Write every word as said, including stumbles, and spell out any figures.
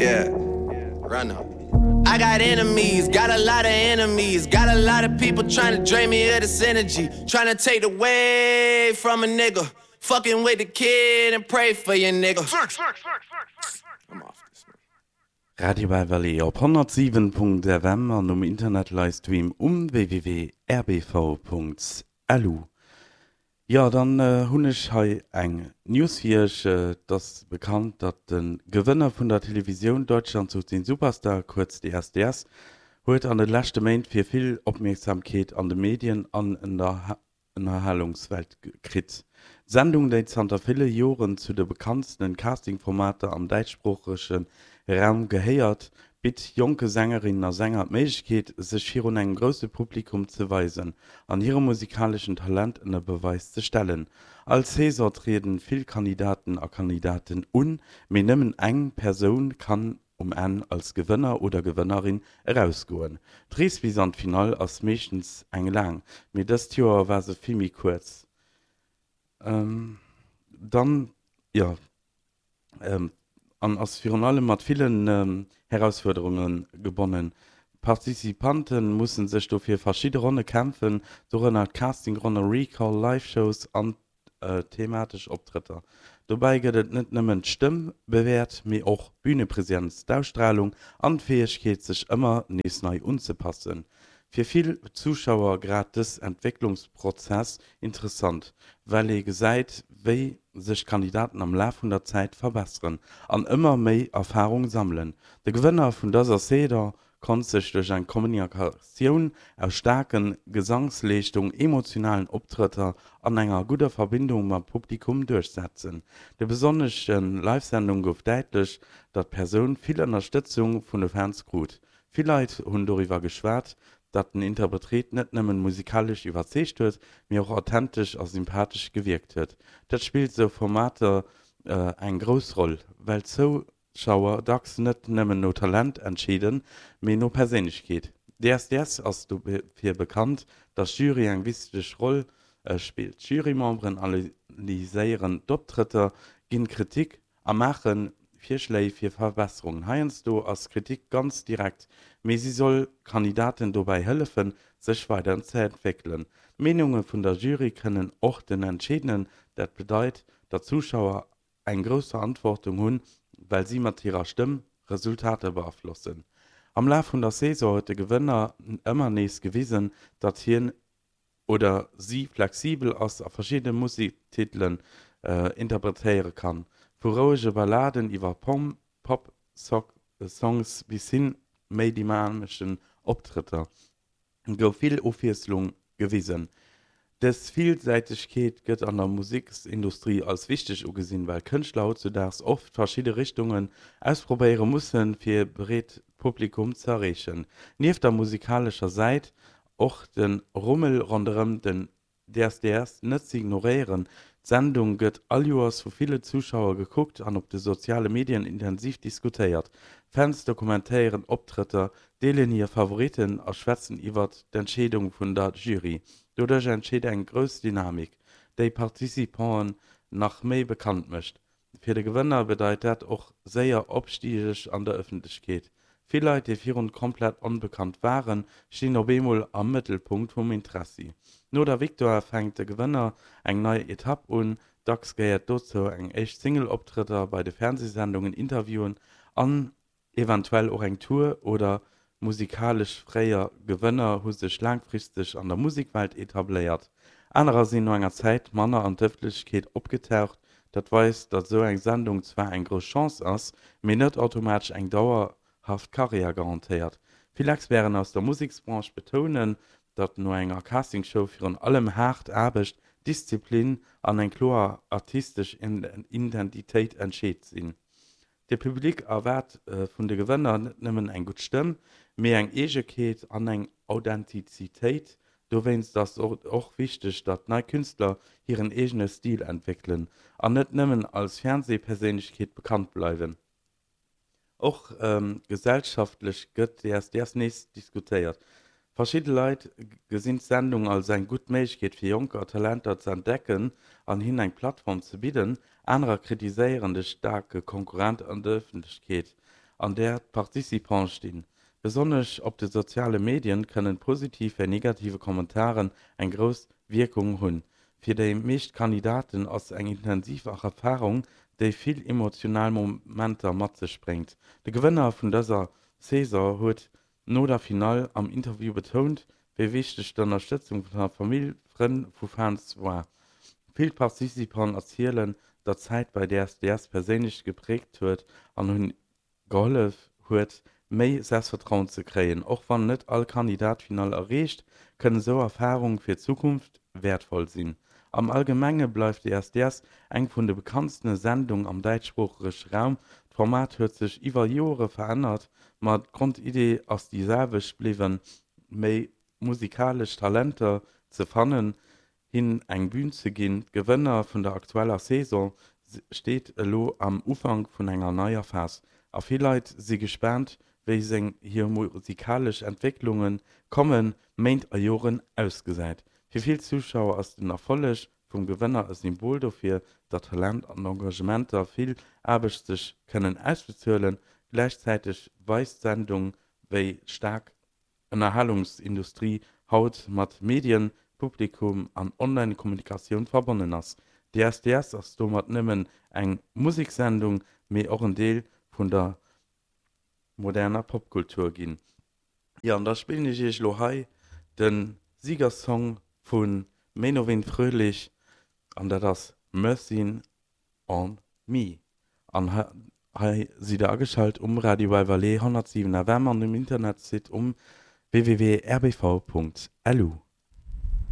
Yeah, run up. I got enemies, got a lot of enemies, got a lot of people trying to drain me of this energy, trying to take away from a nigga. Fucking with the kid and pray for your nigga. I'm off this one. Radio Valley op honnertsiwen Punkt F M an um Internet-Livestream um W W W Punkt R B V Punkt L U. Jo, dann hunn ech hei eng News fir iech. Et ass bekannt, datt de Gewënner vun der Televisioun Deutschland sucht den Superstar, kuerz D S D S, huet an de leschte Méint fir vill Opmierksamkeet an de Medien an an der Ënnerhalungswelt kritt. D'Sendung, déi zanter ville Joren zu de bekanntste Casting-Formater am däitschsproochege Raum gehéiert, bitt jonke Sängerinnen a Sänger d'Méiglechkeet, sech virun engem grousse Publikum ze weisen an hire musikaleschen Talent ënner Beweis ze stellen. All Saison triede vill Kandidaten a Kandidatinnen un, mee nëmmen eng Persoun kann um Enn als Gewënner oder Gewënnerin erausgoen. D'Rees bis an d'Finall ass meeschtens eng laang, mee dëst Joer war se vill méi kuerz. Dann, jo, an ass virun allem mat villen Herausfuerderunge gebonnen. D'Participante musse sech dofir verschidde Ronne kämpfen, dorënner Casting-Ronne, Recall, Live-Shows an thematesch Optrëtter. Dobäi gëtt et net nëmmen d'Stëmm bewäert, mee och d'Bünepresenz, d'Ausstralung an d'Fäegkeet, sech ëmmer nees nei unzepassen. Fir vill Zuschauer grad dës Entwécklungsprozess interessant, well ee gesäit, wéi sech d'Kandidaten am Laf vun der Zäit verbesseren an ëmmer méi Erfarung sammelen. De Gewënner vun dëser Saison konnt sech duerch eng Kombinatioun aus staarke Gesangsleeschtungen, emotionalen Optrëtter an enger gudder Verbindung mam Publikum duerchsetzen. De besonnesche Live-Sendunge gouf däitlech, datt d'Persoun vill Ënnerstëtzung vun de Fans krut. Vill Leit hunn doriwwer geschwat, datt den Interpret net nëmme musikalesch iwwerzeegt huet, mee och authentesch a sympathesch gewierkt huet. Dat spillt sou Formater eng grouss Roll, well d'Zouschauer dacks net nëmmen no Talent entscheeden, mee no Perséinlechkeet. D S D S ass dofir bekannt, datt d'Jury eng wichteg Roll spillt. D'Jurymemberen analyséieren d'Optrëtter, ginn Kritik a maache Virschléi fir Verbesserungen. Heiansdo ass Kritik ganz direkt, mee si soll Kandidaten dobäi hëllefen, sech weiderzeentwéckelen. D'Meenunge vun der Jury kënnen och den entscheeden. Dat bedeit, datt d'Zuschauer eng grouss Verantwortung hunn, well si mat hirer Stëmm Resultater beaflossen. Am Laf vun der Saison huet de Gewënner ëmmer nees gewisen, datt hien oder si flexibel ass a verschidde Musektitelen interpretéiere kann, vu rouege Balladen iwwer Pop-Songs bis hin méi dynameschen Optrëtter gouf vill Ofwiesslung gewisen. Dës Villsäitegkeet gëtt an der Museksindustrie als wichteg ugesinn, well Kënschtler hautzudaags oft verschidde Richtungen ausprobéiere mussen, fir e breet Publikum ze erreechen. Nieft der musikalescher Säit och de Rummel ronderëm den D S D S net ze ignoréieren. D'Sendung gëtt all Joers vu ville Zuschauer gekuckt an op de soziale Medien intensiv diskutéiert. Fans dokumentéieren Optrëtter, deelen hir Favoritten a schwätzen iwwer d'Entscheedung vun der Jury. Doduerch entsteet eng grouss Dynamik, déi d'Participanten nach méi bekannt mécht. Fir de Gewënner bedeit dat och séier Opstig an der Ëffentlechkeet. Vill Leit, déi virun komplett onbekannt waren, stinn op eemol am Mëttelpunkt vum Interessi. No der Victoire fänkt de Gewënner eng nei Etapp un. Dacks gehéiert dozou eng éischt Single, Optrëtter bei de Fernseesendungen, Interviewen an eventuell och eng Tour oder musikalesch. Fréier Gewënner hu sech laangfristeg an der Musekwelt etabléiert, anerer sinn no enger Zäit manner an d'Ëffentlechkeet opgetaucht. Dat weist, datt esou eng Sendung zwar eng grouss Chance ass, mee net automatesch eng dauerhaft Karriär garantéiert. Vill Experten aus der Museksbranche betounen, datt no enger Castingshow virun allem haart Aarbecht, Disziplin an eng kloer artistesch Identitéit entscheedend sinn. De Public erwaart vun de Gewënner net nëmmen eng gutt Stëmm, mee eng Eegekeet an eng Authentizitéit. Dowéinst ass et och wichteg, datt nei Künstler hiren eegene Stil entwéckelen an net nëmmen als Fernseeperséinlechkeet bekannt bleiwen. Och gesellschaftlech gëtt D S D S nees diskutéiert. Verschidde Leit gesinn d'Sendung als eng gutt Méiglechkeet fir jonker Talenter ze entdecken an hinnen eng Plattform ze bidden, anerer kritiséieren déi staark Konkurrenz an d'Ëffentlechkeet, an där d'Participante stinn. Besonnesch op de soziale Medien kënnen positiv wéi negativ Kommentaren eng grouss Wierkung hunn. Fir déi meescht Kandidaten ass eng intensiv Erfarung, déi vill emotional Momenter mat sech bréngt. De Gewënner vun dëser Saison huet no der Finall am Interview betount, wéi wichteg d'Ënnerstëtzung vun der Famill, Frënn vu Fans war. Vill Participanten erzielen, datt d'Zäit bei D S D S perséinlech gepräägt huet an hinne gehollef huet, méi Selbstvertrauen ze kréien. Och wann net all Kandidat d'Finall erreecht, kënnen esou Erfarunge fir d'Zukunft wäertvoll sinn. Am Allgemenge bleift D S D S eng vun de bekanntste Sendungen am däitschsproochege Raum. D'Format huet sech iwwer Jore verännert, ma d'Grondiddi ass déi selwecht bliwwen: méi musikalesch Talenter ze fannen, hinnen eng Bün ze ginn. De Gewënner vun der aktueller Saison steet elo am Ufank vun enger neier Phas, a vill Leit si gespaant, wéi seng hir musikalesch Entwécklung déi kommend Méint a Joren ausgesäit. Fir vill Zuschauer ass den Erfolleg vum Gewënner e Symbol dofir, datt Talent an Engagement a vill Aarbecht sech kënnen ausbezuelen. Gläichzäiteg weist d'Sendung, wéi staark d'Ënnerhalungsindustrie haut mat Medien, Publikum an Online-Kommunikatioun verbonnen ass. D S D S ass domat net nëmmen eng Musekssendung, mee och en Deel vun der moderner Popkultur ginn. Jo, an da spillen ech iech lo hei de Siegersong vu Menowin Fröhlich an dat ass Mercy on Me. An hei sidd der ageschalt um Radio Valais honnertsiwen F M an um Internetsite um W W W Punkt R B V Punkt L U.